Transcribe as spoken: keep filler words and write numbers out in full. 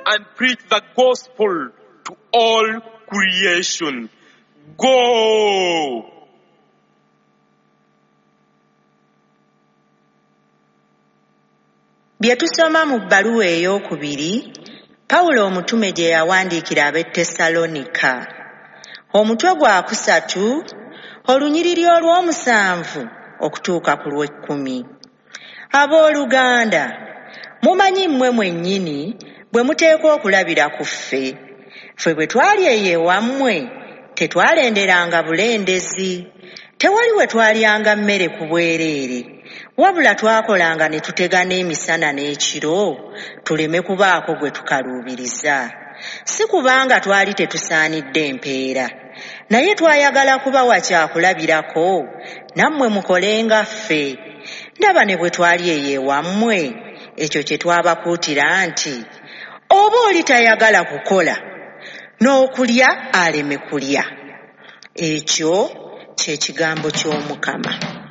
and preach the gospel to all creation. Go! Bye tusoma mu bbaluwa eyookubiri, Pawulo omutume gye yawandiikira ab'e Tessalonika. Omutwe gwa kusatu, olunyiriri olw'omusanvu okutuuka ku lw'ekkumi. Abooluganda, mumanyi mmwe mwennyini bwe muteekwa okulabira ku ffe. Ffe bwe twali eyo ewammwe, tetwalenderanga bulendezi. Tewali we twalyanga mmere ku bwereere, wabula twakolanga ne tutegana emisana n'ekiro, tuleme kubaako gwe tukaluubiriza. Si kubanga twali tetusaanidde mpeera, naye twayagala kubawa kyakulabirako, nammwe mukole nga ffe. Ndaba ne bwe twali eyo ewammwe, ekyo kye twabakuutira nti, oba oli tayagala kukola, n'okulya aleme kulya. Ekyo kye kigambo ky'Omukama.